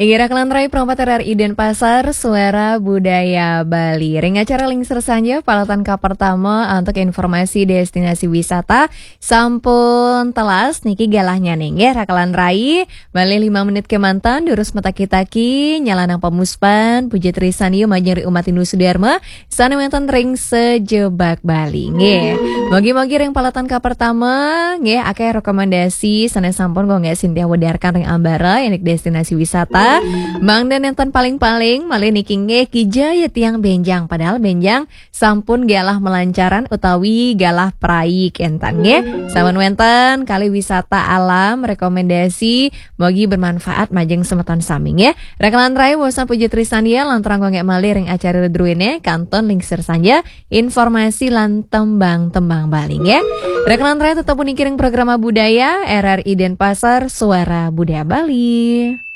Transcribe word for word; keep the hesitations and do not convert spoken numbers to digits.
Inggih, rakan rai perempat R R I Denpasar, Suara Budaya Bali. Ring acara Lingsir Sanja, palatan ka pertama untuk informasi destinasi wisata sampun telas niki galahnya nih, nggih, rakan rai. Malih lima menit kemanten, durus mataki-taki, nyalanang pamuspan, puji trisan majeng ring umat Hindu Sudarma, sane wenten ring sajebag Bali, nggih. Mogi-mogi ring palatan ka pertama, nggih, akeh rekomendasi sane sampun kangge sintia wedarkan ring ambara, indik destinasi wisata. Mangda nenten paling-paling, malih niki nggih kija ya tiang benjang, padahal benjang sampun galah malancaran utawi galah prai kenten, nggih. Sampun wenten kalih wisata alam, rekomendasi, mogi bermanfaat majeng semeton sami, nggih. Rakan rai, bosan puji trisan ya, lanturang kangge malih ring acara druene, kantun Lingsir Sanja, informasi lan tembang-tembang Bali, nggih. Rakan rai, tetep puniki ring Programa Budaya, R R I Denpasar, Suara Budaya Bali.